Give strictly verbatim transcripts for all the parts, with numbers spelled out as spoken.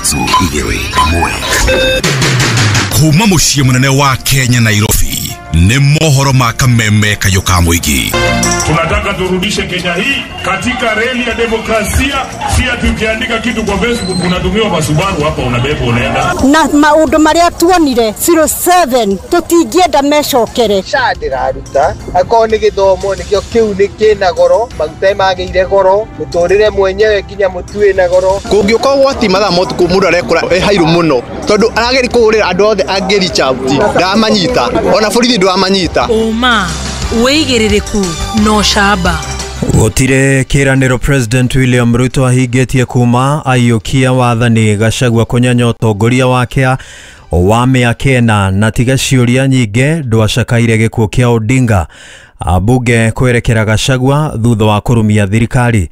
Ithatũ, igĩrĩ, ĩmwe. Kuma mũciĩ mũnene wa Kenya, Nairobi, nĩ mohoro ma Kameme Kayũ ka Mũingĩ. Tunataka turudishe Kenya hii katika reli ya demokrasia, si ati ukiandika kitu kwa Facebook unatumiwa masubaru hapa, unabeba unaenda. Na maundu maria tuonire zero seven tutingĩenda mecokere. S H A ndĩraruta akorwo nĩ gĩthomo nĩkĩo kĩu nĩ kĩna goro, maguta magĩire goro, mũtũrĩre mwenyewe nginya mũtu wĩna goro. Kũngĩũka ũgwati mathaa ma ũtukũ, mũndũ arekora ĩ hairũ mũno tondũ arageria kũhũrĩra andũ othe angĩ reach out, ndamanyita, ona borithi ndwamanyita. Ũma, wĩigĩrĩrĩku na ũcamba. Gũtirĩ kĩranĩro President William Ruto ahingĩtie kuma aiyũkia wathani. Gachagua kũnyenya ũtongoria wake wa mĩaka ĩna na tiga ciũria nyingĩ ndwacakaire gĩkuũ kĩa Odinga. Ambunge kwerekera Gachagua thutha wa kũrumia thirikari.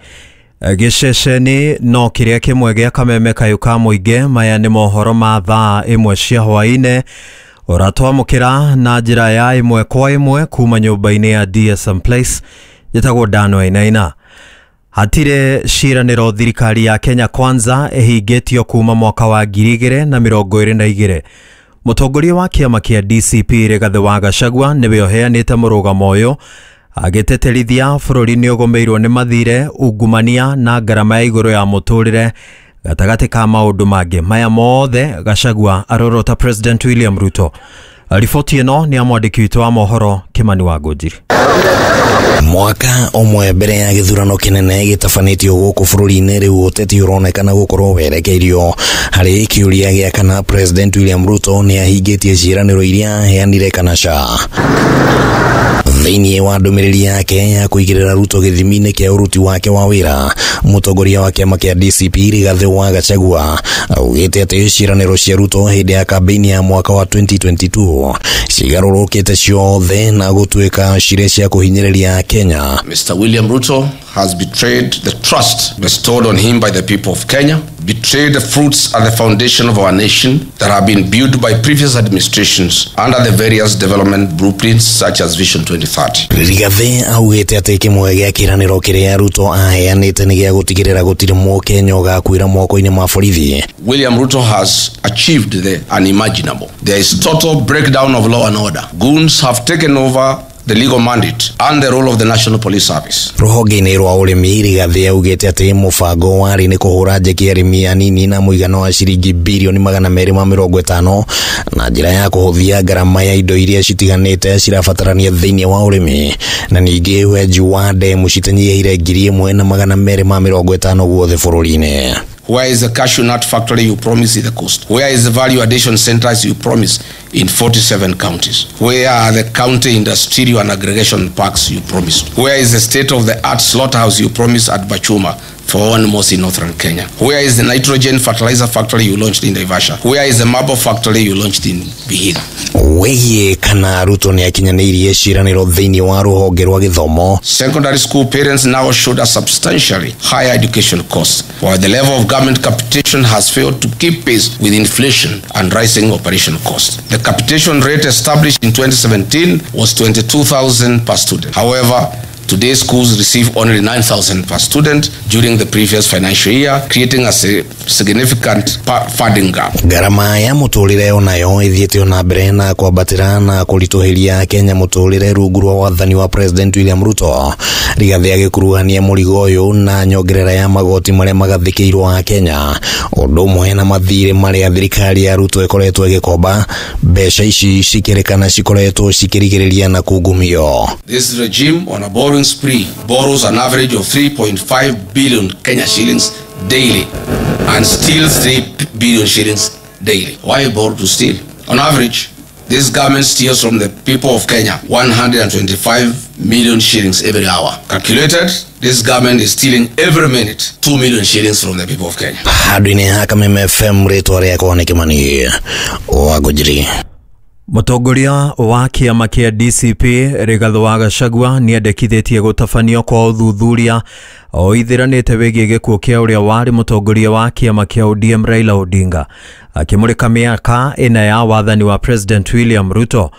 Gĩceceni no kĩrĩa kĩmwe gĩa Kameme Kayũ ka Mũingĩ. Maya nĩ mohoro ma thaa ĩmwe cia hwaĩ-inĩ, ũratwamũkĩra na njĩra ya ĩmwe kwa ĩmwe kuma nyũmba-inĩ ya D S M Place. Njĩtagwo Dano Ainaina. Hatirĩ ciĩranĩro thirikari ya Kenya Kwanza ĩhingĩtio kuma mwaka wa ngiri igĩrĩ na mĩrongo ĩrĩ na igĩrĩ. Mũtongoria wa kĩama kĩa D C P Rigathĩ wa Gachagua nĩwe ũheanĩte mũrũgamo ũyũ, agĩtĩtĩrithia bũrũri nĩ ũgũmĩirwo nĩ mathirĩ, ungumania na ngarama ya igũrũ ya mũtũrĩre gatagatĩ ka maũndũ mangĩ. Maya mothe Gachagua arorota President William Ruto. Riboti ĩno nĩ ya mwandĩki witũ wa mohoro Kimani wa Ngũnjiri. Mwaka ũmwe mbere ya gĩthurano kĩnene gĩtabanĩtio gũkũ bũrũri-inĩ, rĩu ũteti ũronekana gũkorwo werekeirio harĩ kĩũria gĩa kana President William Ruto nĩ ahingĩtie ciĩranĩro iria aheanire kana ca. Thĩinĩ wa ndũmĩrĩri yake ya kũigĩrĩra Ruto gĩthimi-inĩ kĩa ũruti wake wa wĩra, mũtongoria wa kĩama kĩa D C P Rigathĩ wa Gachagua augĩte atĩ ciĩranĩro cia Ruto hĩndĩ ya kambĩini ya mwaka wa twenty twenty-two cigarũrũkĩte ciothe na gũtuĩka cirĩ cia kũhinyĩrĩria Kenya. Mister William Ruto has betrayed the trust bestowed on him by the people of Kenya, betrayed the fruits and the foundation of our nation that have been built by previous administrations under the various development blueprints such as Vision twenty thirty. Rigathĩ augĩte atĩ kĩmwe gĩa kĩranĩro kĩrĩa Ruto aheanĩte nĩ gĩa gũtigĩrĩra gũtirĩ mũkenya ũgakuĩra moko-inĩ ma borithi. William Ruto has achieved the unimaginable. There is total breakdown of law and order. Goons have taken over the legal mandate and the role of the National Police Service. Rũhonge-inĩ rwa ũrĩmi, Rigathĩ augĩte atĩ mũbango warĩ nĩ kũhũra njeki arĩmi anini na mũigana wa ciringi birioni magana merĩ ma mĩrongo ĩtano na njĩra ya kũhũthia ngarama ya indo iria citiganĩte cirabatarania thĩinĩ wa ũrĩmi, na ningĩ wenji wa ndemu citanyihĩire ngiri ĩmwe na magana merĩ ma mĩrongo ĩtano guothe bũrũri-inĩ. Where is the cashew nut factory you promised in the coast? Where is the value addition centers you promised in forty-seven counties? Where are the county industrial and aggregation parks you promised? Where is the state-of-the-art slaughterhouse you promised at Bachuma for animals in northern Kenya? Where is the nitrogen fertilizer factory you launched in Naivasha? Where is the marble factory you launched in Vihiga? Wĩgiĩ kana Ruto nĩ akinyanĩirie ciĩranĩro thĩinĩ wa rũhonge rwa gĩthomo, Secondary school parents now shoulder substantially higher education costs, while the level of government capitation has failed to keep pace with inflation and rising operation costs. The capitation rate established in twenty seventeen was twenty-two thousand per student. However, today schools receive only nine thousand per student during the previous financial year, creating a si- significant pa- funding gap. Ngarama ya mũtũrĩre onayo ĩthiĩte ona mbere na kwambatĩra na kũritũhĩria Kenya mũtũrĩre rungu rwa wathani wa President William Ruto. Rigathĩ agĩkuruhania mũrigo ũyũ na nyongerera ya magoti marĩa magathĩkĩirwo a Kenya, ũndũ ũmwe na mathirĩ marĩa thirikari ya Ruto ĩkoretwo ĩgĩkomba. Mbeca ici cikĩrĩkana cikoretwo cikĩrigĩrĩria na kungumio. This regime, on a borrowing spree, borrows an average of three point five billion Kenya shillings daily and steals three billion shillings daily. Why borrow to steal? On average, this government steals from the people of Kenya one hundred twenty-five million shillings every hour. Calculated, this government is stealing every minute two million shillings from the people of Kenya. Handũ-inĩ ha Kameme F M, rĩtwa rĩakwa nĩ Kĩmani wa Ngũnjiri. Mũtongoria wa kĩama kĩa D C P Rigathĩ wa Gachagua nĩendekithĩtie gũtabanio kwa ũthuthuria oithiranĩte wĩgiĩ gĩkuũ kĩa ũrĩa warĩ mũtongoria wa kĩama kĩa O D M Raila Odinga. Akĩmũrĩka mĩaka ĩna ya wathani wa President William Ruto,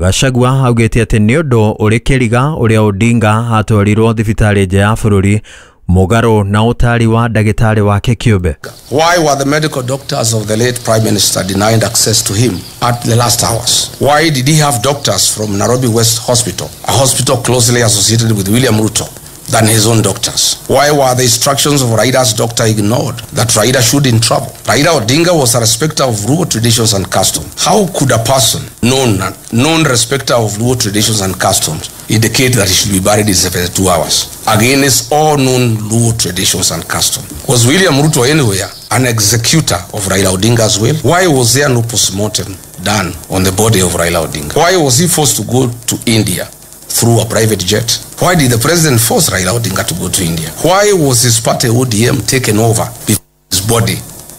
Gachagua augĩte atĩ nĩ ũndũ ũrĩ kĩriga ũrĩa Odinga atwarirwo thibitarĩ nja ya bũrũri. Mũgarũ na ũtari wa ndagĩtarĩ wake kĩũmbe. Why were the medical doctors of the late Prime Minister denied access to him at the last hours? Why did he have doctors from Nairobi West Hospital, a hospital closely associated with William Ruto, than his own doctors? Why were the instructions of Raila's doctor ignored that Raila shouldn't travel? Raila Odinga was a respecter of Luo traditions and customs. How could a person known, known respecter of Luo traditions and customs indicate that he should be buried in seventy-two hours against all known Luo traditions and customs? Was William Ruto anywhere an executor of Raila Odinga's will? Why was there no postmortem done on the body of Raila Odinga? Why was he forced to go to India through a private jet? Why did the president force Raila Odinga to go to India? Why was his party O D M taken over before his body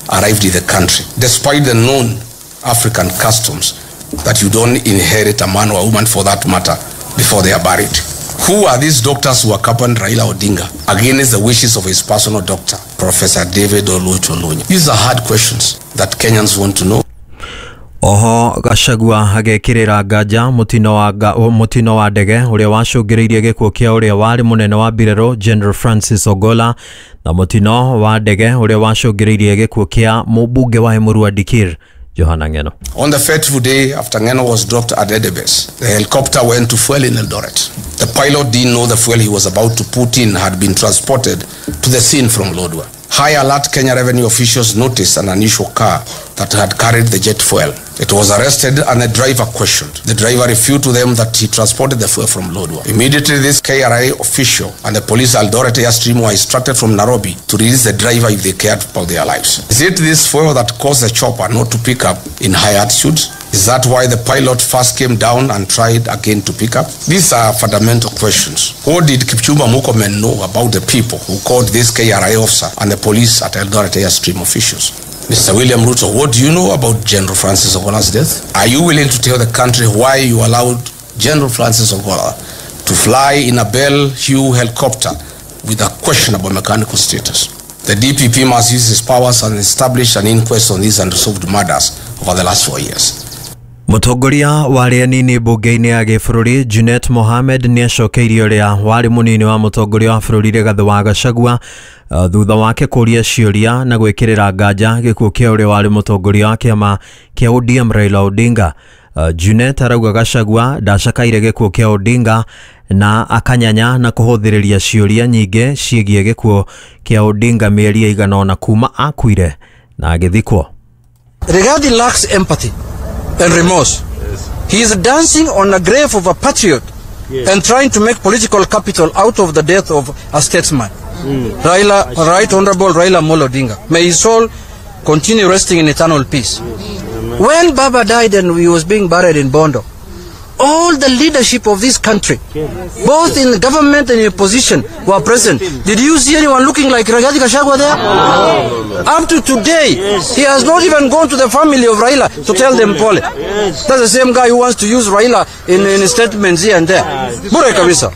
arrived in the country, despite the known African customs that you don't inherit a man or a woman for that matter before they are buried? Who are these doctors who accompanied Raila Odinga against the wishes of his personal doctor, Professor David Oluoch Olunya? These are hard questions that Kenyans want to know. Oho Gachagua agekirira nganja mutino wa mutino wa ndege uria wacũngĩrĩirie gĩkuũ kĩa ũrĩa warĩ mũnene wa mbirarũ General Francis Ogola na mutino wa ndege ũrĩa wacũngĩrĩirie gĩkuũ kĩa mũmbunge wa Emurua Dikirr Johana Ng'eno. On the fateful day after Ng'eno was dropped at Endebess, the helicopter went to fuel in Eldoret. The pilot didn't know the fuel he was about to put in had been transported to the scene from Lodwar. High alert Kenya revenue officials noticed an unusual car that had carried the jet fuel. It was arrested and the driver questioned. The driver refuted to them that he transported the fuel from Lodwar. Immediately, this K R A official and the police Eldoret Airstream were instructed from Nairobi to release the driver if they cared about their lives. Is it this fuel that caused the chopper not to pick up in high altitudes? Is that why the pilot first came down and tried again to pick up? These are fundamental questions. What did Kipchumba Murkomen know about the people who called this K R A officer and the police at Eldoret Airstream officials? Mister William Ruto, what do you know about General Francis Ogola's death? Are you willing to tell the country why you allowed General Francis Ogola to fly in a Bell Hugh helicopter with a questionable mechanical status? The D P P must use his powers and establish an inquest on these unresolved murders over the last four years. Mũtongoria wa arĩa anini mbunge-inĩ ya gĩbũrũri Junet Mohamed nĩacokeirie ũrĩa warĩ mũnini wa mũtongoria wa bũrũri Rigathĩ wa Gachagua uh, thutha wake kũria ciũria na gwĩkĩrĩra nganja gĩkuũ kĩa ũrĩa warĩ mũtongoria wa kĩama kĩa O D M Raila Odinga. Uh, Junet arauga Gachagua ndacakaire gĩkuũ kĩa Odinga na akanyanya na kũhũthĩrĩria ciũria nyingĩ ciĩgiĩ gĩkuũ kĩa Odinga mĩeri ĩigana ũna kuma akuire na agĩthikwo. Rigathi lacks empathy and remorse. Yes. He is dancing on the grave of a patriot, yes, and trying to make political capital out of the death of a statesman. Mm. Raila, Right Honorable Raila Amolo Odinga. May his soul continue resting in eternal peace. Yes. When Baba died and he was being buried in Bondo, all the leadership of this country, yes, both in government and in opposition, were present. Did you see anyone looking like Rigathi Gachagua there? No. No. Up to today, yes, he has not even gone to the family of Raila to tell them pole. Yes. That's the same guy who wants to use Raila in, in statements here and there. Bure kabisa.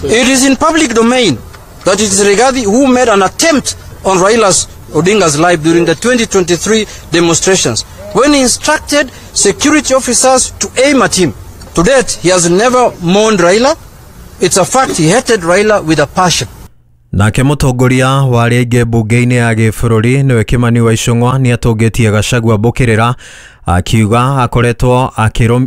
It is in public domain that it is Rigathi who made an attempt on Raila's Odinga's life during the twenty twenty-three demonstrations, when he instructed security officers to aim at him. To date, he has never mourned Raila. It's a fact he hated Raila with a passion. Nake mũtongoria wa arĩa aingĩ mbunge-inĩ ya gĩbũrũri nĩwe Kimani wa Ichung'wa nĩatũngĩtie Gachagua mbũkĩrĩra akiuga akoretwo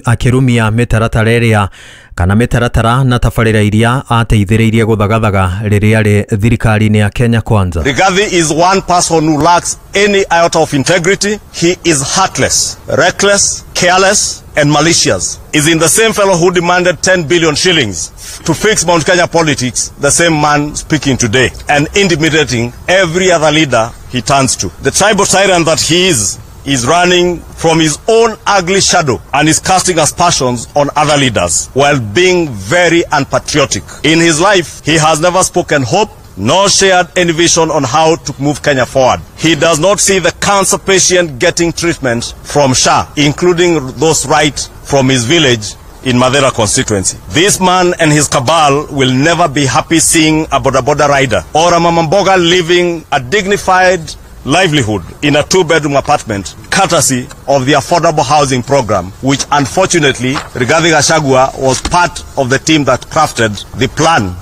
akĩrumia mĩtaratara ĩrĩa kana mĩtaratara na tabarĩra iria ateithĩrĩirie gũthagathaga rĩrĩa arĩ thirikari-inĩ ya Kenya Kwanza. Rigathi is one person who lacks any iota of integrity. He is heartless, reckless, careless and malicious. Is in the same fellow who demanded ten billion shillings to fix Mount Kenya politics, the same man speaking today and intimidating every other leader he turns to. The tribal tyrant that he is, is running from his own ugly shadow and is casting aspersions on other leaders while being very unpatriotic. In his life, he has never spoken hope nor shared any vision on how to move Kenya forward. He does not see the cancer patient getting treatment from S H A, including those right from his village in Mathira constituency. This man and his cabal will never be happy seeing a boda boda rider or a mamamboga living a dignified livelihood in a two-bedroom apartment, courtesy of the affordable housing program, which unfortunately Rigathi Gachagua was part of the team that crafted the plan.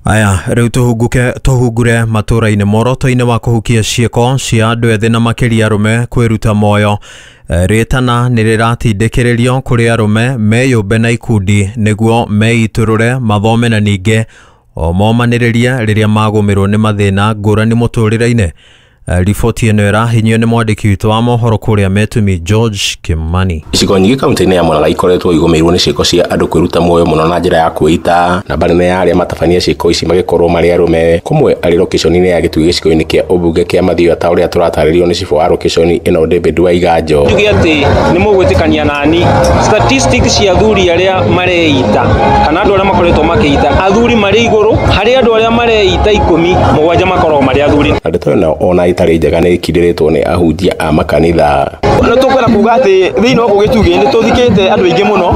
Aya rĩu tũhunguke tũhungure matũra-inĩ moroto-inĩ wa kũhukia ciĩko cia andũ ethĩ na makĩria arũme kwĩruta moyo. Rĩtana nĩ rĩratindĩkĩrĩrio kũrĩ arũme meyũmbe na ikundi nĩguo meitũrũre mathome na ningĩ o momanĩrĩrie rĩrĩa magũmĩrwo nĩ mathĩna ngũrani mũtũrĩre-inĩ. Riboti ĩno ĩrahinyio nĩ mwandĩki witũ wa mohoro kũrĩa Metumi George Kimani. Icigo nyingĩ kaunti-inĩ ya Murang'a ikoretwo igũmĩirwo nĩ ciĩko cia andũ kwĩruta muoyo mũno na njĩra ya kwĩita. Namba nene ya arĩa matabania ciĩko ici magĩkorwo marĩ arũme, kũmwe arĩ location-inĩ ya Gĩtui gĩcigo-inĩ kĩa ũmbunge kĩa Mathioya ta ũrĩa tũratarĩrio nĩ cibũ wa location ĩno David Waiganjo. Njuge atĩ nĩ mũgwĩtĩkania nani statistics cia athuri arĩa mareita kana andũ arĩa makoretwo makĩita, athuri marĩ igũrũ harĩ andũ arĩa mareita ikũmi, mũgwanja makoragwo marĩ athuri. Na ndeto ĩno ona itarĩ njega nĩ ĩkindĩrĩtwo nĩ ahunjia a makanitha. Nĩ tũkwenda kuga atĩ thĩinĩ wa gũkũ Gĩtugĩ nĩ tũthikĩte andũ aingĩ mũno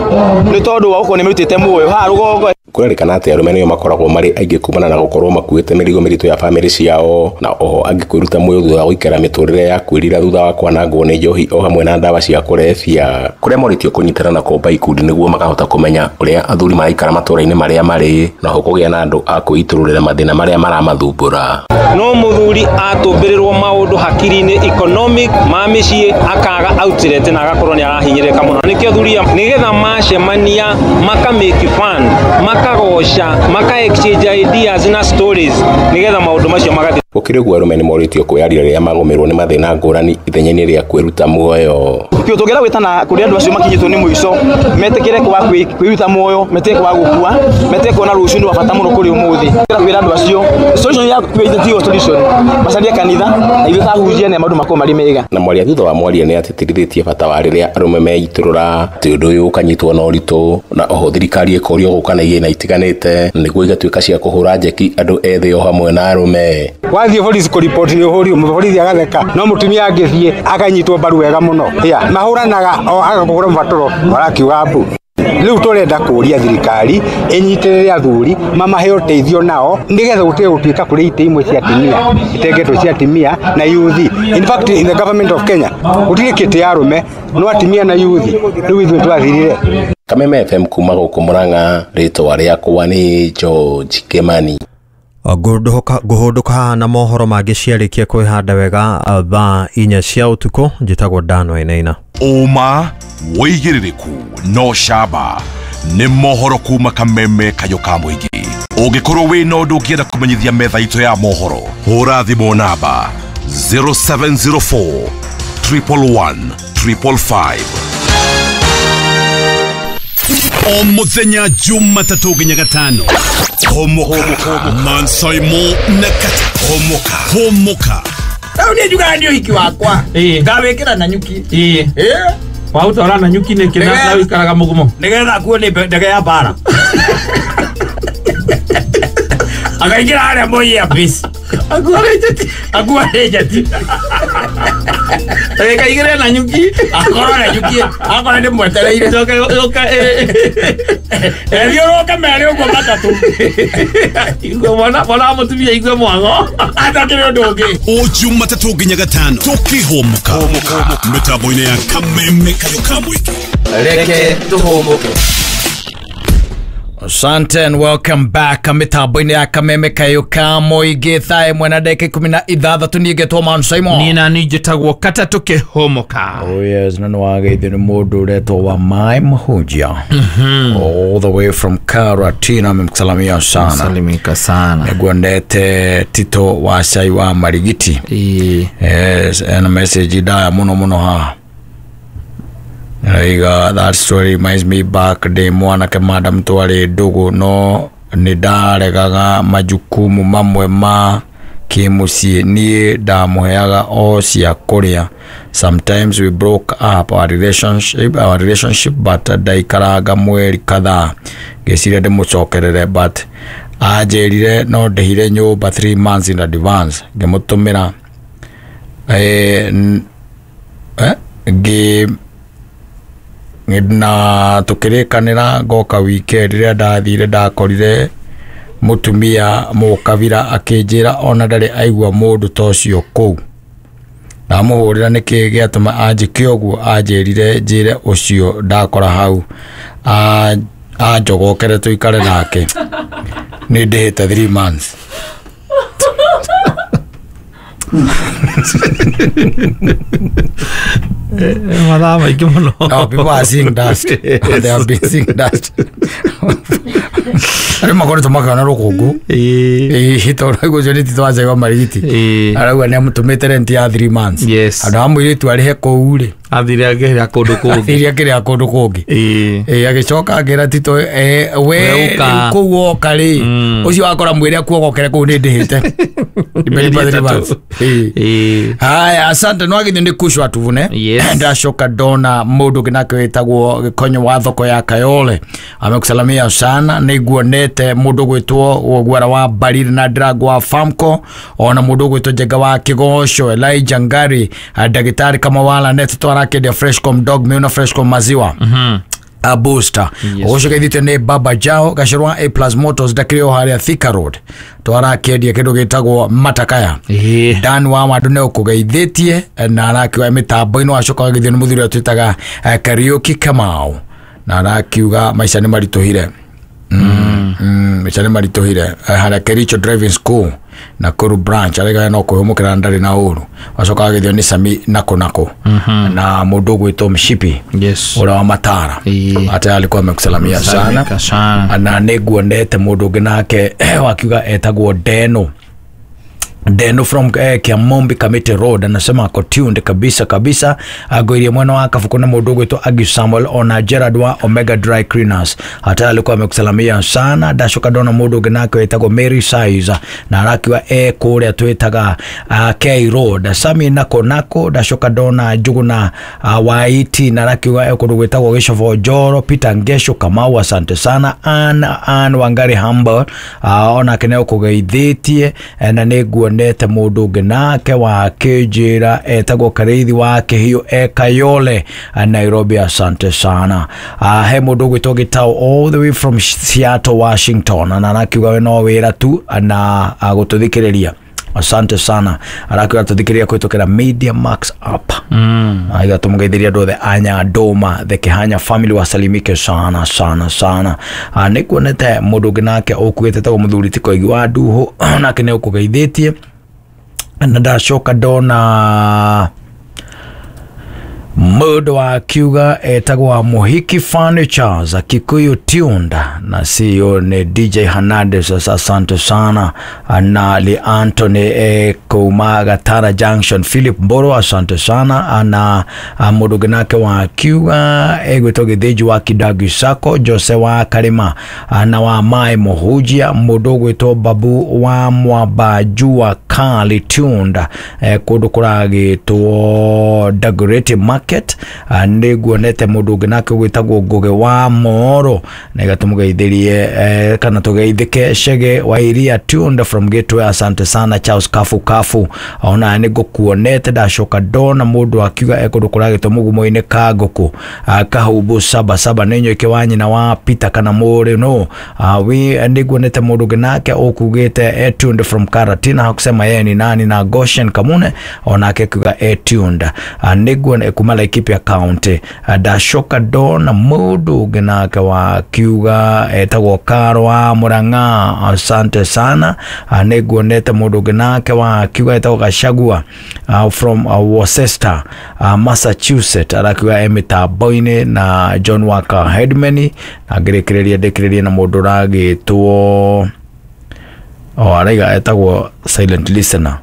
nĩ tondũ wa gũkorwo nĩ merutĩte muoyo haha rũgongo. Kũrerĩkana atĩ arũme nĩo makoragwo marĩ aingĩ kumana na gũkorwo makuĩte mĩrigo mĩritũ ya bamĩrĩ ciao, na oho angĩ kwĩruta muoyo thutha wa gũikara mĩtũrĩre ya kwĩrira thutha wa kwanangwo nĩ njohi o hamwe na ndawa cia kũrebia, kũrĩa morĩtio kũnyitana na kũmba ikundi nĩguo makahota kũmenya ũrĩa athuri maraikara matũra-inĩ marĩa marĩ, na oho kũgĩa na andũ a kwĩitũrũrĩra mathĩna marĩa maramathumbũra. No mũthuri atũmbĩrĩrwo maũndũ hakiri-inĩ economic ma mĩciĩ akaga outlet na agakorwo nĩ arahinyĩrĩka mũno. Nĩkĩo athuri nĩgetha macemania maka make fun, makagoca, maka exchange ideas na stories nĩgetha maũndũ macio magathiĩ. Gũkĩrĩ ũguo arũme nĩ morĩtio kwĩyaria rĩrĩa magũmĩrwo nĩ mathĩna ngũrani ithenya-inĩ rĩa kwĩruta muoyo. Kĩo tũngĩenda gwĩtana kũrĩ andũ acio makinyĩtwo nĩ mũico metĩkĩre kwa kwĩruta muoyo, metĩkĩre kwa gũkua, metĩkĩre kuona rũciũ nĩ wa bata mũno kũrĩ ũmũthĩ. Kwĩra andũ acio solution ya kwĩita tiyo solution, macarie kanitha na ithuĩ tahunjia na maũndũ makorwo marĩ mega. Na mwaria thutha wa mwaria nĩ atĩtĩrithĩtie bata wa rĩrĩa arũme meitũrũra atĩ ũndũ ũyũ ũkanyitwo na ũritũ, na oho thirikari ĩkorio gũka na igĩna itiganĩte nĩguo igatuĩka cia kũhũra njeki andũ ethĩ o hamwe na arũme. Wathiĩ borithi kũriboti nĩ ũhũri borithi agatheka, no mũtumia angĩthiĩ akanyitwo mbaru wega mũno. Ya mahũranaga o agakũhũra mũbatũro marakiuga mbu. Rĩu tũrenda kũria thirikari ĩnyitĩrĩre athuri mamahe ũteithio nao nĩgetha gũtige gũtuĩka kũrĩ itĩ imwe cia atumia itengetwo cia atumia na youth. In fact, in the government of Kenya gũtirĩ kĩtĩ ya arũme no atumia na youth. Rĩu ithuĩ twathirire. Kameme F M kuma gũkũ Murang'a, rĩtwa rĩakwa nĩ George Kimani. Ngũhũndũka na mohoro mangĩ ciarĩkia kwĩhanda wega thaa inya cia ũtukũ. Njĩtagwo Dan Wainaina. Ũma wĩigĩrĩrĩku no camba nĩ mohoro kuma Kameme Kayũ ka mũingĩ. Ũngĩkorwo wĩna ũndũ ũngĩenda kũmenyithia metha itũ ya mohoro, hũra thimũ namba zero seven zero four triple one triple five. O muthenya Jumatatũ nginya gatano. Homoka Mansaimo na Kata. Homoka Homoka. Rĩu niĩ njugaga nĩ ũhiki wakwa ngawĩkĩra na nyuki. Ĩĩ waũtwara na nyuki nĩkĩ na wĩikaraga mũgumo nĩgetha akuo nĩ ndege ya mbara akaingĩra harĩa Moi Air Base akuo nĩ njeti Ekaigĩre na nyuki akorwo na nyuki akorwo nĩ mwetereire ethiũrũke merĩ ũguo matatũ igue mwana mwana mũtumia igue mwango atakĩrĩ ũndũ ũngĩ. O Jumatatũ nginya gatano tũkĩhũmũka mĩtambo-inĩ ya Kameme Kayũ ka mũingĩ. Reke tũhũmũke. Asante and welcome back. Mitambo-inĩ ya Kameme Kayũ ka mũingĩ thaa ĩmwe na ndagĩka ikũmi na ithathatũ. Niĩ ngetwo Man Simon. Niĩ na niĩ njĩtagwo Katatũ Kĩhũmũka. Oh yes, na nĩwageithio nĩ mũndũ ũretwo wa Mai Mũhunjia. All the way from Karatina, amemsalimia sana. Salimika sana. Nĩguondete Tito wa Cai wa Marigiti. Yes, ena message ndaya mũno mũno haha. Raiga, that story reminds me back day mwanake madam twari ndugu no nĩndaregaga majukumu mamwe ma kĩmũciĩ niĩ ndamũheaga o cia kũrĩa. Sometimes we broke up our relationship, our relationship but ndaikaranga mweri kadhaa ngĩciria ndĩmũcokerere but anjĩrire no ndĩhire nyũmba three months in advance ngĩmũtũmĩra eh, eh, ngĩ na tukirikanira ngoka weekend riria ndathire ndakorire mutumia mukabira akinjira ona ndari aigua mundu ta ucio kuu. Ndamuhurira niki giatuma anjike uguo anjirire njire ucio ndakora hau Anjogokere tuikare nake nĩ ndĩhĩte three months. Mathaa maingĩ mũno. No, people are seeing dust. They have been seeing dust. Arĩa makoretwo makĩona rũkũngũ ĩĩ tondũ ũcio nĩ Tito wa Marigiti arauga nĩ amũtũmĩte rent ya three months. Andũ a mũirĩtu arĩhe kũu rĩ athire akĩrĩa kũndũ kũngĩ, athire akĩrĩa kũndũ kũngĩ. Ĩĩ agĩcoka akĩra Tito we kũu woka rĩ ũcio wakora mwĩre akuogokere kũu nĩ ndĩhĩte. Haya, asante. No agithio nĩ kucwa tuvune. Ndacoka ndona mũndũ ũngĩ nake wĩtagwo Gĩkonyo wa thoko ya Kayole amekusalamia sana. Nĩnguonete mũndũ gwĩtwo Gwara wa Bariri na Drago wa Famco, ona mũndũ gwĩtwo Njenga wa Kĩgoco, Elijah Ngari, ndagĩtarĩ Kamawala net twarakendia Freshcom dog meal na Freshcom maziwa. Mhm. A booster. Ũcio geithĩtio nĩ Baba Jao Gacũrwa A Plus Motors ndakĩrĩ o harĩa Thika Road twarakendia kĩndũ gĩtagwo matakaya. Dan wa Wandu nĩ ũkũgeithĩtie na arakiuga mĩtambo-inĩ wacoka wagithio nĩ mũthuri ũrĩa twĩtaga Kariuki Kamau na arakiuga maica nĩ maritũhire. Mm, maica nĩ maritũhire harĩa Kericho Driving School Nakuru branch arega no kuhumukira ndari na uru wacoka agithio ni Sami nako nako na mundu gwitwo Mshipi yes ura wa Matara ate alikuwa amekusalamia sana na niguonete mundu ungi nake wakiuga etagwo Deno Deno from eh, Kiamombi Kamiti Road anasema ako tuned kabisa kabisa. Agoirie mwana wa Kafuko na mundu gwitwo Agi Samuel ona Gerard wa Omega Dry Cleaners hata alikuwa amekusalamia sana. Ndacoka ndona mundu ungi nake wetagwo Mary Size na arakiwa e kuria twitaga uh, K Road Sami nako nako. Ndacoka ndona Njuguna uh, Waiti na arakiwa e kundu gwitagwo Gicobo Njoro Peter Ngesho Kamau asante sana. Ann Ann Wangari Humble uh, ona kene ukugeithitie na niguo nete mundu ungi nake wa kinjira etagwo Kariithi wa Kihio e Kayole Nairobi asante sana. Uh, he mundu gwitwo Gitau all the way from Seattle Washington na arakiuga we no wira tu na gututhikiriria asante sana. Arakiuga tuthikiriria kwitukira Media Max app. Mm. Aiga tumugeithiria andu othe anya Ndoma the Kihanya family wasalimike sana sana sana. Nikuonete mundu ungi nake ukugite tagwo muthuri ti Koigi wa Nduhu nake ni ukugeithitie na ndacoka ndona mundu wa kiuga etagwa Muhiki Furnitures Kikuyu Tuned na C E O ni D J Hernandez asante sana. Na Li Anthony e kuma Gatara Junction Philip Mboro asante sana. Na mundu nake wa kiuga egwitwo Githinji wa Kidagi Sako Jose wa Karima na wa Mai Muhujia mundu gwitwo Babu wa Mwaba Jua Kali Tuned e, kundu kuragitwo Dagoretti Market niguonete mundu ungi nake gwitagwo Ngugi wa Moro na igatumugeithirie eh, kana tugeithike Shege wa Iria Tuned from Gateway asante sana. Charles Kafu Kafu ona nigukuonete ndacoka ndona mundu akiuga ekundu kuragitwo mugumo-ini ka nguku Kahubu saba saba ninyoike wa nyina wa Peter kana muri no wi niguonete mundu ungi nake ukugite tuned from Karatina hakusema yeye ni nani na Goshen Kamune onake akiuga tuned niguone kuma Laikipia County ndacoka ndona mundu ungi nake wa kiuga etagwo Karo wa Murang'a asante sana. Niguonete mundu ungi nake wa kiuga etagwo Gachagua uh, from uh, Worcester uh, Massachusetts arakiuga emitambo-ini na John Walker Headman na ngirikireria ndikiririe na mundu uragitwo o araiga etagwo Silent Listener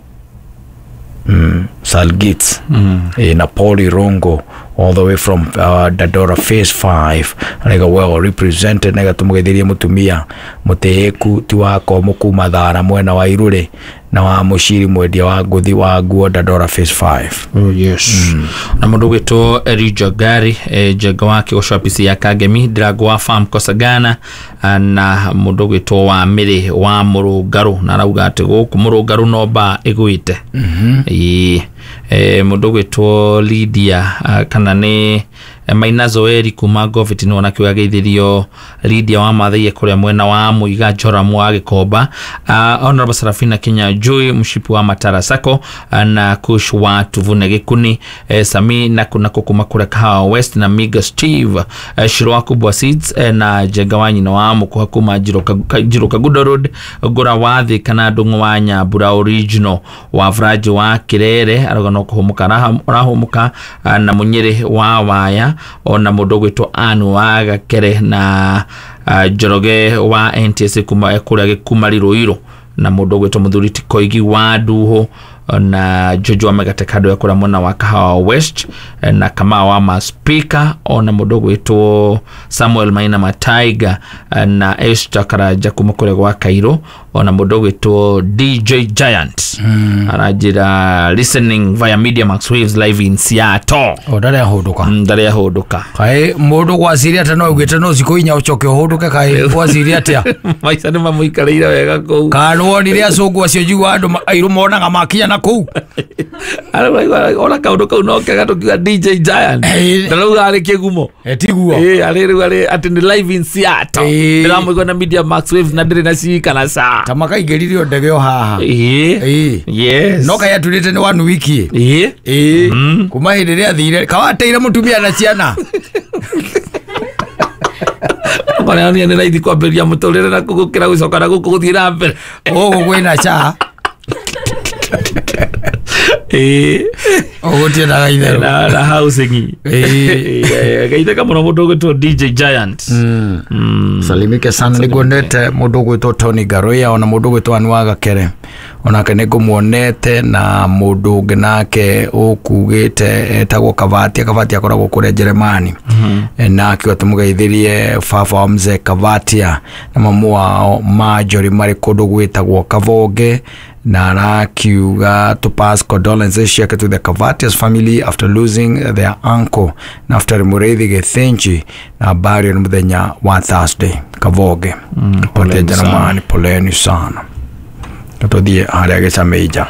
Mm, Salgits mm. E, na Pauli Rongo all the way from uh, Dadora Phase five araiga well represented na gatumugeithirie mutumia mutiiku ti wako mukuma thara mwena wa Irure na wa muciri mwendia wa nguthi wa nguo Dadora Phase five. Oh yes. Mm. Na mundu gwitwo Elijah Gari e, Njenga wa Kĩgoco ofisi ya Kangemi Drago wa Farm Kosagana na mundu gwitwo wa Miri wa Murungaru na arauga ati guku Murungaru no ba iguite. Mhm. Ii eh mundu gwitwo Lydia kana ni Maina Zoeri kuma Govit ni ona kiuga geithirio Lydia wa Mathaiye kuria mwena wa Muiga Joramu wa Gikomba, uh, Honorable Sarafina Kenya Joy mshipi wa Matara Sako na Kush wa Tuvune Gikuni, eh, Sami na kuna kuma kuria Kahawa West na Miga Steve, eh, Shirwa Kubwa Seeds, eh, na Jengawanyi na wa Mukuha kuma Jiroka Kagudo Road Gora wathi kana Ndung'u wa Nyambura original wa Vraji wa Kirere aroga no kuhumuka rahumuka na Munyiri wa Waya ona mundu gwitwo Anu wa Gakere na Njoroge wa N T S kuma kuria Gikumari Ruiru na mundu gwitwo Muthuri Tikoigi wa Nduhu na Jojo Megate kando ya kuria mwena wa Kahawa West na Kamau wa Maspika ona mundu gwitwo Samuel Maina Mataiga na Esther Karaja kuma kuria gwa Kairo ona mundu gwitwo D J Giant mm. Arajira listening via Media Max Waves live in Seattle. O ndare ahunduka ndare ahunduka kai mundu gwaciria ata no ugite no ciku inya ucoke uhunduke kai gwaciria atia maica ni mamuikarire wega kuu kana wonire acungu acio njigua andu airu monaga makinya na kuu ona kaundu kau no kega tukiuga D J Giant ndarauga ari kigumo tiguo eh ari riu ari ati ni live in Seattle ndiramuigua na Media Max Waves na ndiri na cii kana ca ta makaingĩririo ndege o haha ĩĩ yes no kai aturĩte nĩ one week ĩĩ ĩĩ kuma hĩndĩ ĩrĩa athire kawateire mũtumia na ciana Kwana ni nĩ raithi kwambĩrĩria mũtũrĩre na gũkĩra gũcoka na gũkũ gũthiĩ na mbere gũkũ kwĩna ca ĩĩ ũgũtiendaga itherũ na na housing ĩĩ geithĩka mũno mũndũ ũgwĩtwo D J Giant. Salimike sana nĩnguonete mũndũ ũgwĩtwo Tony Garoya ona mũndũ ũgwĩtwo Anu wa Gakere onake nĩngũmuonete na mũndũ ũngĩ nake ũkugĩte etagwo Kavatia. Kavatia akoragwo kũrĩa Jeremani na akiuga tũmũgeithĩrie baba wa mzee Kavatia na mamu wao Marjorie marĩ kũndũ gwĩtagwo Kavonge na arakiuga to pass condolences ciake to the Kavatias family after losing their uncle Naftali Mureithi Githinji na burial nĩ mũthenya wa Thursday Kavonge. Mm, poleni Jeremani, poleni sana. Tũthiĩ harĩa gĩcameija.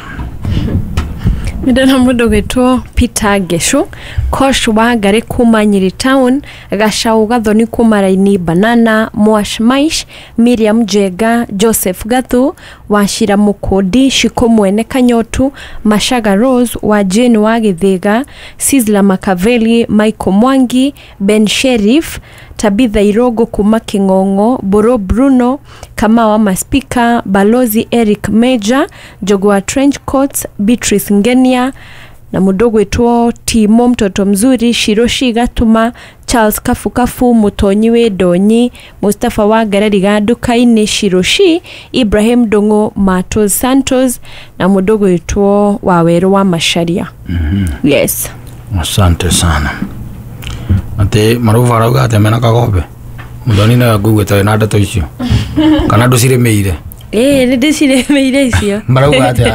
Ndĩrona mũndũ gwĩtwo Peter Geshu, Kosh wa Ngari kuma Nyeri Town, Gacau Gathoni kuma Raini Banana, Mwash Maish, Miriam Njega, Joseph Gathu, Wachira Mukundi, Shiko Mwene Kanyotu, Mashaga Rose, wa Jane wa Githiga, Sizzla Makaveli, Michael Mwangi, Ben Sheriff, Tabitha Irogo kuma King'ong'o, Boro Bruno, Kamau wa Maspika, Balozi Eric Major, Jogwa Trench Coats, Beatrice Ngenia na mũndũ gwĩtwo Timo mtoto mzuri, Shiroshi Gatuma, Charles Kafukafu, Mutonyi wĩ Ndonyi, Mustafa wa Ngarari Gandukainĩ, Shiroshi, Ibrahim Ndung'u, Matos Santos na mũndũ gwĩtwo Wawerũ wa Macharia. Mm -hmm. Yes. Asante sana. Ati maruva arauga atia mena Kagombe Muthoni nawe nguigĩte wĩna ndeto icio kana ndũcirĩmĩire? Ĩĩ nĩ ndĩcirĩmĩire icio. Marauga atia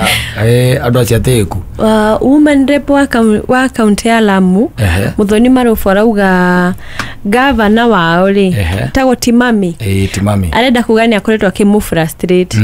andũ acio atĩĩku? Woman rep wa kaunti ya Lamu Muthoni Marubu arauga gavana wao rĩ tagwo Timami. Ĩĩ Timami arenda kuga nĩ akoretwo akĩmũ frustrate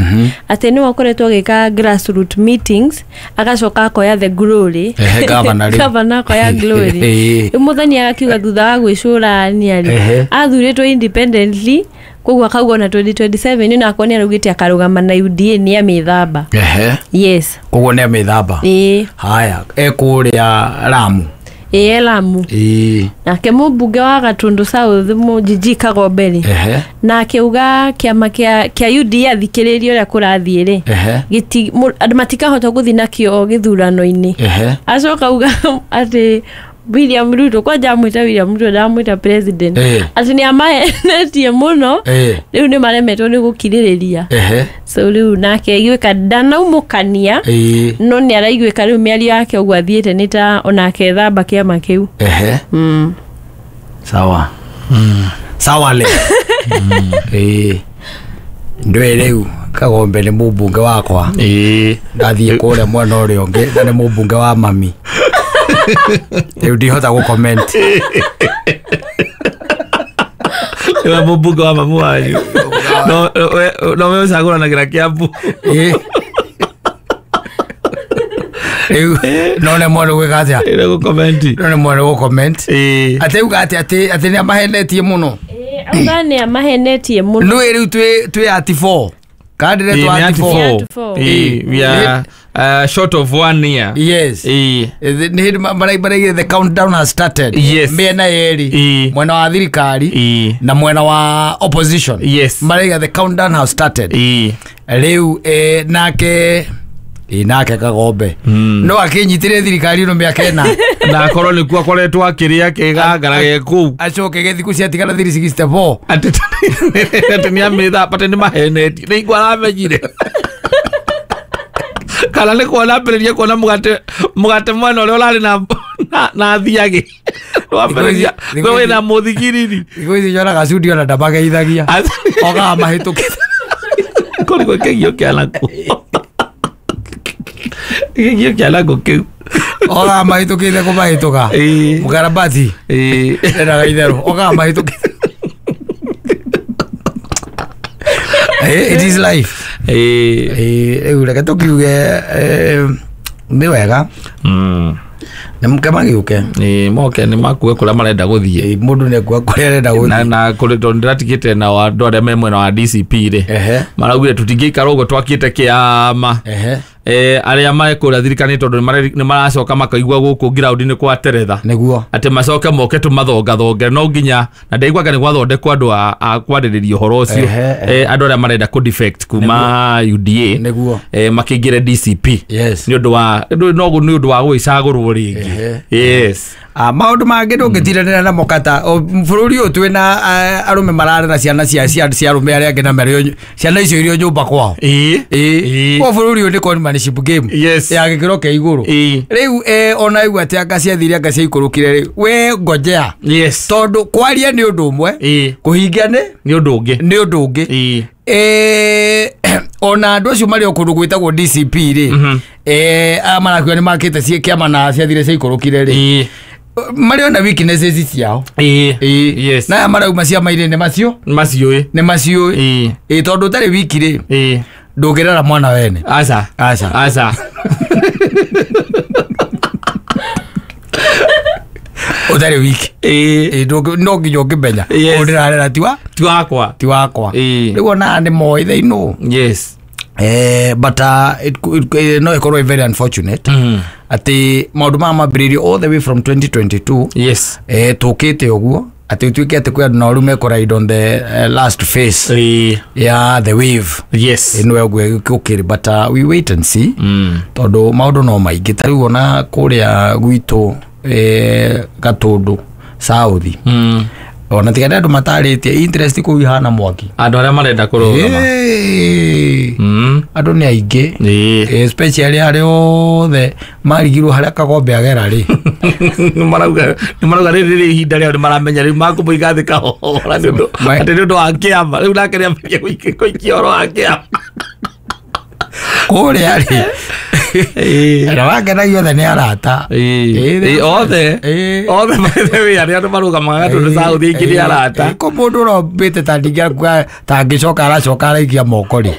atĩ nĩwe akoretwo agĩka grassroot meetings agacoka akoya the glory. Ehe gavana rĩ gavana akoya glory. Rĩu Muthoni agakiuga thutha wa gwĩcũrania rĩ athurĩtwo independently koguo akauga ona twenty twenty-seven na akorwo nĩ araugĩte akarũgama na U D A nĩ amĩthamba. Ehe yes koguo nĩ amĩthamba. Ĩĩ haya ekũrĩa Lamu. Ĩĩ Lamu. Ĩĩ nake mũmbunge wa Gatundu South Mũjiji Kagombe rĩ na akiuga kĩama kĩa kĩa U D A athikĩrĩrie ũrĩa kũrathiĩ rĩ gĩti andũ matikahota gũthiĩ nakĩo gĩthurano-inĩ. Acoka auga atĩ William Ruto kwanja amwĩta William Ruto ndamwĩta president atĩ nĩ amahenetie mũno rĩu nĩ maremetwo nĩ gũkirĩrĩria so rĩu nake aiguĩka ndanaumũkania no nĩ araiguĩka rĩu mĩario yake ũguo athiĩte nĩ ta onake thamba kĩama kĩu. Ehe sawa sawa le ĩĩ ndũĩ rĩu Kagombe nĩ mũmbunge wakwa ĩĩ ndathiĩ kũrĩa mwena ũrĩa ũngĩ na nĩ mũmbunge wa mami rĩu ndihota gũ comment. Niwe mũmbunge wa mamu wanyu no no we ũcagũranagĩra Kiambu. Ĩĩ Rĩu no nĩ mwana gwĩka atĩa? Ĩrĩ gũ-comment. No nĩ mwana gũ-comment. Atĩ uga atĩ atĩ atĩ nĩ amahenetie mũno. Auga nĩ amahenetie mũno. Nĩ rĩu twĩ twĩ at four. Kandire Ĩĩ, twa nĩ at at four. four. Ĩĩ, we are uh, short of one year. Yes. Ĩĩ. Nĩ hĩndĩ maraigire the countdown has started. Yes. Mĩena yerĩ. Mwena wa thirikari Ĩĩ. na mwena wa opposition. Yes. Maraiga the countdown has started. Ĩĩ. Rĩu eh, nake ĩ nake Kagombe no akĩnyitĩre thirikari ĩno mĩaka ĩna na akorwo nĩkuo akoretwo akĩrĩa kĩgangara ge kũu acoke gĩthikũ ciatigara three sixty four atĩ atĩ nĩ amĩthamba atĩ nĩ mahenetie nĩ igua aramenyire kana nĩ kuona ambĩrĩrie kuona mũgate mũgate mwena ũrĩa ũrarĩ na na- na thiagĩ wambĩrĩria wĩna mũthigiriri thikũ ici nyonaga cundi ona ndamageithagia ogaga mahĩtũkĩte kũrigwo kĩgio kĩa nakuo kĩgio kĩa nakuo kĩu ogaga mahĩtũkĩte kũmahĩtũka mũkarabati endaga itherũ ogaga mahĩtũkĩte. Eh, it is life. Eh, rĩu reke tũkiuge eh, nĩ wega nĩ mũke magĩũke. Ĩĩ, moke nĩ makue kũrĩa marenda gũthiĩ. Mũndũ nĩ akua kũrĩa arenda gũthiĩ. Na na kũrĩ tondũ ndĩratigĩte na andũ arĩa me mwena wa D C P rĩ maraugire tũtingĩikara ũguo twakĩte kĩama. Eh, arĩa marĩ kũrĩa thirikari tondũ nĩ maracoka makaigua gũkũ ground-inĩ kwa teretha nĩguo atĩ macoke moke tũmathongathonge no nginya na ndaiguaga nĩ gwathondekwo andũ a, a kwarĩrĩria ũhoro ũcio. Eh, andũ arĩa marenda kũ defect kuma U D A nĩguo eh, makĩingĩre D C P. Yes. Nĩ ũndũ wa no nĩ ũndũ wa gwĩcagũrwo rĩngĩ. Yes. Ah, maũndũ mangĩ ndũngĩtindanĩra namo kata bũrũri ũyũ twĩna arũme mararera ciana cia cia cia arũme arĩa angĩ na marĩ ciana icio irio nyũmba kwao. Ĩĩ. Ĩĩ. Kwa bũrũri ũyũ nĩ conmanship game. Yes. Ya gĩkĩro kĩa igũrũ. Rĩu eh, ona igua atĩ anga ciathire anga ciaikũrũkire rĩ we ngojea. Yes. Tondũ kwaria nĩ ũndũ ũmwe. Kũhingia nĩ nĩ ũndũ ũngĩ. Nĩ ũndũ ũngĩ. Eh, ona andũ acio marĩ o kũndũ gwĩtagwo D C P rĩ eh, aya marakiuga nĩ makĩte kĩama na ciathire ciaikũrũkire rĩ marĩ ona weaknesses ciao. Ĩĩ. Yes. Na aya marauma ciama-inĩ nĩ macio maciũĩ nĩ maciũĩ. Ĩĩ, tondũ ũtarĩ wiki rĩ ndũngĩrera mwana wene. Aca. Aca. Aca. Ũtarĩ wiki. Ĩĩ, no nginya ũngĩmenya ũyũ ndĩrarera ti wa ti wakwa ti wakwa. Rĩu ona nĩ moĩ they know. Yes. Eh, but uh, it, it, no ĩkorwo very unfortunate atĩ maũndũ maya mambĩrĩirio all the way from twenty twenty-two. Yes. Eh, tũkĩte ũguo atĩ ũtuĩke atĩ kwĩ andũ nao rĩu mekũride on the uh, last phase ya the wave. Yes. Ĩno ũguo gũkĩrĩ but uh, we wait and see tondũ maũndũ no maingĩ ta rĩu ona kũrĩa gwitũ eh, Gatũndũ South ona tiga andũ matarĩtie interest kũu ihana mwaki andũ arĩa marenda kũrũgama andũ nĩ aingĩ especially arĩa othe marigirwo harĩa Kagombe agera rĩ marauga nĩ marauga rĩrĩ rĩ ihinda rĩao nĩ maramenya rĩu makũmũiga thĩ kahora nĩ ũndũ atĩ nĩ ũndũ wa kĩama rĩu nake nĩambĩrĩria gũikia ũhoro wa kĩama kũrĩa rĩ na wangenagia othe nĩ arata othe othe by the way arĩa andũ marũgamaga Gatũndũ South aingĩ nĩ arata ko mũndũ ũrombĩte ta ndingĩakua ta angĩcoka aracoka araikia moko rĩ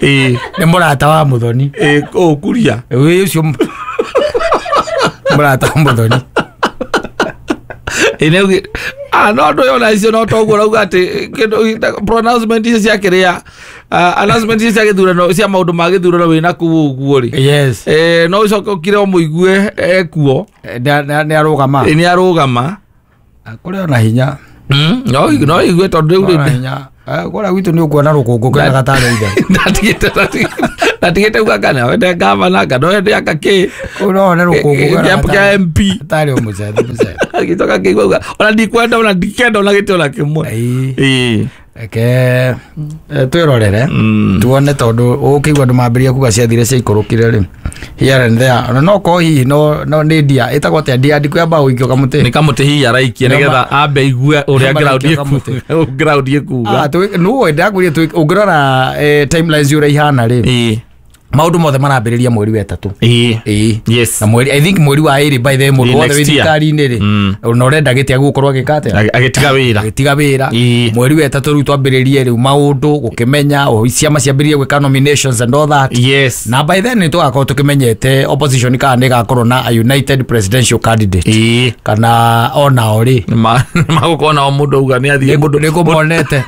nĩ mũrata wa Mũthoni ũkuria ĩ ũcio mũrata wa Mũthoni. Ĩĩ ah no andũ yona icio no toguo rauga atĩ kĩndũ pronouncement icio cia kĩrĩa announcement icio cia gĩthurano cia maũndũ ma gĩthurano wĩna kũu ũguo rĩ. Yes. Eh, no ũcoke ũkire ũmũigue ekuo nĩ arũgama nĩ arũgama kũrĩ ona hinya no no igue tondũ rĩu rĩ hinya kũrĩa gwitũ nĩ ũkuona rũkũngũ kena gatarĩ ithe ndatigĩte ndatigĩte uga kana wende gavana kana wende aka kĩ kũu no one rũkũngũ kena kĩa M P gatarĩ o mũcethi mũcethi agĩcoka kĩigua uga ona ndikwenda ona ndikenda ona gĩtĩ ona kĩmwe. Ĩĩ reke twĩrorere tuone tondũ ũkĩigua andũ mambĩrĩria kuga ciathire ciaikũrũkire rĩ here and there ona no korwo hihi no no nĩ ndia ĩtagwo atĩa ndia ndikũ ya mbaũ ikio kamũtĩ nĩ kamũtĩ hihi araikia nĩgetha ambe aigue ũrĩa ground ĩkuga. Nũĩ ndakwĩrire ũngĩrora timelines ũrĩa ihana rĩ Maundu mothe marambĩrĩria mweri wa ĩtatũ. Ĩĩ. Yes. Na mweri I think mweri wa ĩrĩ by the way mũndũ wothe wĩ thirikari-inĩ rĩ na ũrenda gĩtĩ agũkorwo agĩka atĩa? Agĩtiga wĩra. Agĩtiga wĩra. Mweri wa ĩtatũ rĩu twambĩrĩrie rĩu maũndũ gũkĩmenya ciama ciambĩrĩrie gwĩka nominations and all that. Yes. Na by then nĩ tũgakorwo tũkĩmenyete opposition kana nĩ ĩgakorwo na a united presidential candidate. Ĩĩ. Kana onao rĩ magũkorwo nao mũndũ auga nĩ athiĩ mũndũ nĩ kũmonete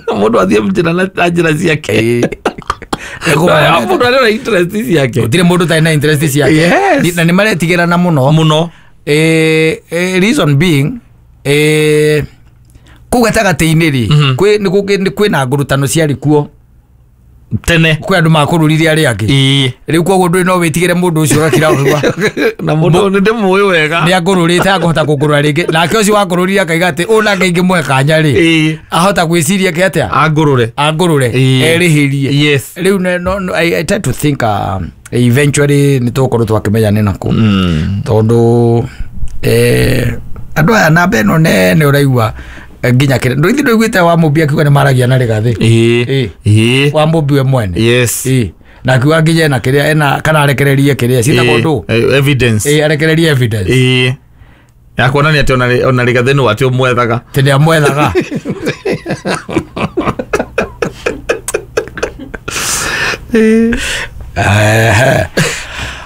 mũndũ athiĩ njĩra na njĩra ciake. Mũndũ arĩ na interest ciake. Gũtirĩ mũndũ ũtarĩ na interest ciake. Yes. Na nĩ maretigĩrana mũno mũno. Eh, reason being eh kũu gatagatĩ-inĩ rĩ kwĩ nĩ kwĩna ngurutano ciarĩ kuo tene kwĩ andũ makũrũrire arĩa angĩ. Rĩu koguo ndũrĩ no wĩtigĩre mũndũ ũcio ũgakira ũgua na mũndũ nĩ ndĩmũĩ wega nĩ angũrũrĩte akũhota kũngũrũra rĩngĩ nake ũcio wakũrũrire akaiga atĩ ũũ nake ingĩmũhe kanya rĩ ahota gwĩciria ke atĩa angũrũre angũrũre erĩhĩrie. Yes. Rĩu no, no, I, I try to think uh, eventually nĩ tũgũkorwo twakĩmenya nĩ nakũ tondũ eh, andũ aya namba ĩno nene ũraigua nginya kire nduithi nduiguite wa Mumbi akiuga ni maragia na Rigathi. Ĩĩ. Ĩĩ. Wa Mumbi we mwene. Yes. Ĩĩ. Na akiuga nginya ena kiria ena kana arekererie kiria ciĩtagwo ndũ evidence. Ĩĩ arekererie evidence. Ĩĩ. Ya kuonania atĩ ona ona Rigathi nĩ atĩ ũmwethaga. Atĩ nĩ amwethaga. Ĩĩ.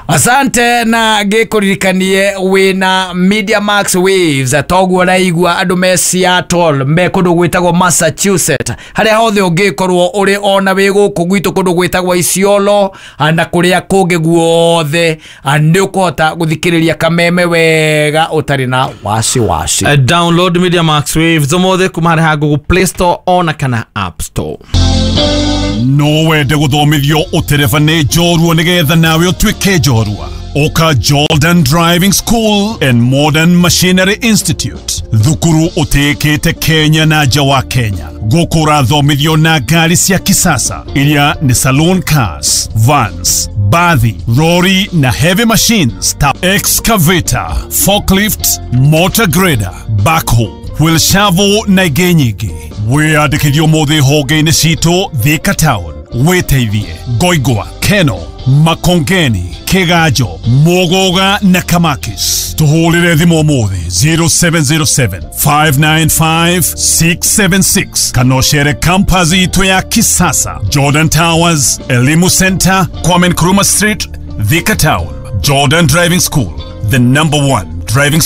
Asante na ngĩkũririkanie wĩna Media Max Waves toguo ũraigua andũ me Seattle me kũndũ gwĩtagwo Massachusetts harĩa hothe ũngĩkorwo ũrĩ ona wĩ gũkũ gwitũ kũndũ gwĩtagwo Isiolo na kũrĩa kũngĩ guothe nĩ ũkũhota gũthikĩrĩria kameme wega ũtarĩ na wasiwasi. Uh, download Media Max Waves ũmũthĩ kuma harĩ ha Google Play Store ona kana App Store. No wende gũthomithio ũtereba nĩ njorua nĩgetha nawe ũtuĩke njorua. Oka Jordan Driving School and Modern Machinery Institute thukuru ũtĩĩkĩte Kenya na nja wa Kenya. Gũkũ ũrathomithio na ngari cia kisasa iria nĩ saloon cars, vans, bathi, lorry na heavy machines ta excavator, forklift, motor grader, backhoe, wheel shovel na ingĩ nyingĩ. Wĩyandĩkithie ũmũthĩ honge-inĩ citũ Thika Town, wĩteithie Ngoingwa, Keno, Makongeni, Kiganjo, Muguga na Kamakis. Tũhũrĩre thimũ ũmũthĩ zero seven zero seven, five nine five, six seven six kana ũcere campus itũ ya kisasa Jordan Towers, Elimu Center, Kwame Nkrumah Street, Thika Town. Jordan Driving School, the number one driving school.